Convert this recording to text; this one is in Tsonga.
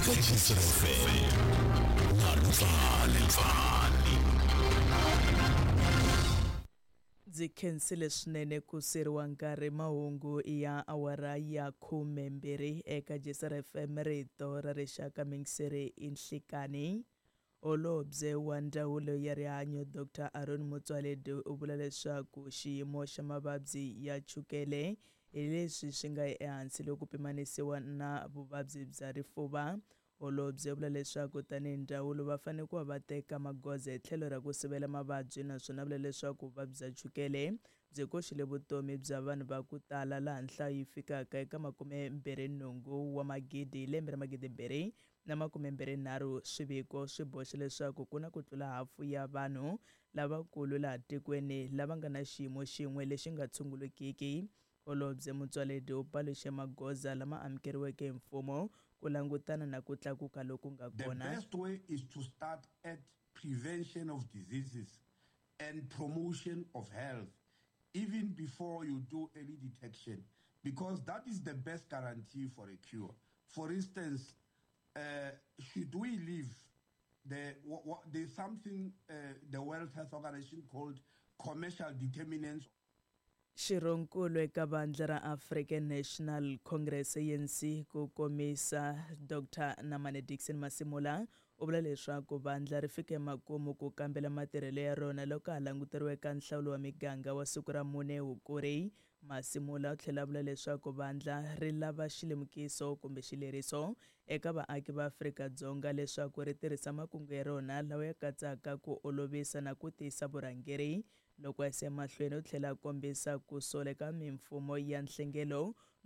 Eka Jisr FM na Lupfani Pfani. Ndzi khensile swinene ku siriwa nkarhi mahungu ya awara ya 12 eka Jisr FM rito ra rixaka mingiseri i nhlikani. Holobye wa Ndzawulo ya Rihanyo Dr Aaron Motsoaledi u vula leswaku xiyimo xa mavabyi ya chukele hi leswi swi nga ehansi loko pimanisiwa na vuvabyi bya rifuva. Holobye u vula leswaku tanihi ndzawulo va fanele ku va va teka magoza hi tlhelo ra ku sivela mavabyi naswona vula leswaku vuvabyi bya chukele byi koxile vutomi bya vanhu va ku tala laha nhlayo yi fikaka eka 28 wa magidi hi lembe ra 2023. Swiviko swi boxa leswaku ku na ku tlula hafu ya vanhu lavakulu laha tikweni lava nga na xiyimo xin'we lexi nga tshungulekiki. Holobye Motsoaledi u paluxe magoza lama amukeriweke hi mfumo ku langutana na ku tlakuka loku nga The kona. best way is to start at prevention of diseases and promotion of health, even before you do early detection, because that is the best guarantee for a cure. For instance, should we leave the, there's something the World Health Organization called commercial determinants. Xirhonkulu eka vandla ra African National Congress ANC ku komisa Dr Namane Dickson Masimula u vula leswaku vandla ri fike makumu ku kambela matirhelo ya rona loko ha languteriwe eka nhlawulo wa miganga wa siku ra 4 Hukuri. Masimula u tlhela a vula leswaku vandla ri lava xilemukiso kumbe xileriso eka vaaki va Afrika-Dzonga leswaku ri tirhisa makungu ya rona lawa ya katsaka ku olovisa na ku tiyisa vurhangeri. Loko a yisa emahlweni u tlhela a kombisa ku sola eka mimfumo ya nhlengelo